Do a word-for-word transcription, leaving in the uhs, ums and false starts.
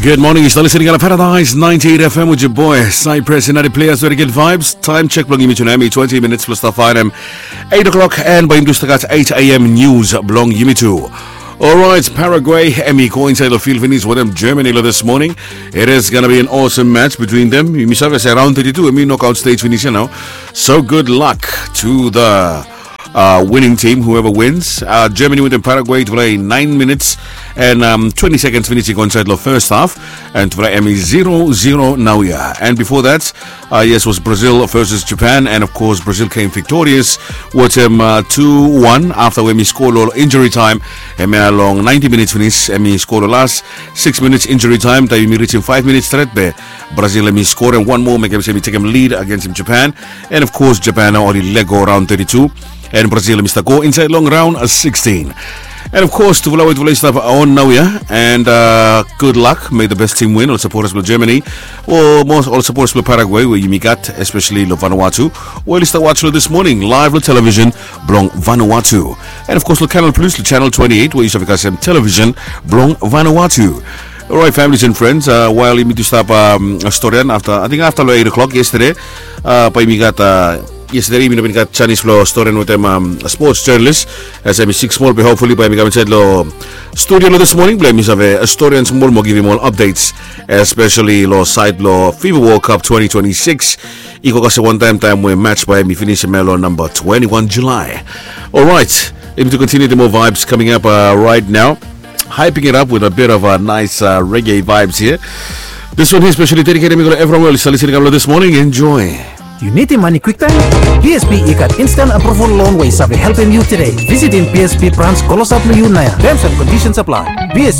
Good morning, yu stap listening on Paradise ninety-eight F M with your boy Cypress and other players very good vibes. Time check blong yumi tu nau hemi twenty minutes plus the five a.m. eight o'clock and by yumi tu stap gat eight a.m. news blong yumi tu. Alright, Paraguay hemi go inside the field finish with them Germany this morning. It is gonna be an awesome match between them. Yumi save se round thirty-two hemi knockout stage finish now. So good luck to the uh, winning team, whoever wins. Uh, Germany went in Paraguay to play nine minutes and um, twenty seconds finish i go inside lo first half and to play hemi zero zero naoia. And before that, uh, yes, was Brazil versus Japan, and of course Brazil came victorious with him uh, two one after hemi score lo injury time. Hemia long ninety minutes finish, hemi score lo last six minutes injury time, taem hemi reach him five minutes stret be Brazil hemi score and one more make him say hemi take him lead against him Japan. And of course Japan oli lego round thirty-two. And Brazil hemi stap go inside long round uh, sixteen. And of course tufala we tufala i stap on naoia. And uh, good luck, may the best team win. Ol supporters blong Germany, o mos ol supporters blong Paraguay we yumi gat, especially lo Vanuatu, we oli stap watch lo this morning live lo television blong Vanuatu. And of course lo Canal Plus, lo channel twenty-eight we yu save kasem television blong Vanuatu. Alright, families and friends, uh, while yumi tu stap um, storian afta, I think afta lo eight o'clock yesterday, uh, bae yumi gat uh, yesterday yumi no bin gat janis blong storian wetem um, sports journalist, as hemi sik smol be hopefully bae hemi kam insaed lo studio lo this morning blong hemi save uh, storian smol mo givim ol updates, especially lo saed blo FIFA World Cup twenty twenty-six. I go kasem wantaem taem we match bae hemi finish hemia lo namba twenty-one July. Alright, yumi tu continue the more vibes coming up uh, right now. Hyping it up with a bit of a nice uh, reggae vibes here. This one here specially dedicated mi go lo everyone we oli stap listening lo this morning. Enjoy. Yu nidim mane kwiktaem? B S P i gat instant approval loan we i save helpem yu tede. Visitim B S P branch klosap lo yu naoia. Terms and conditions apply. B S P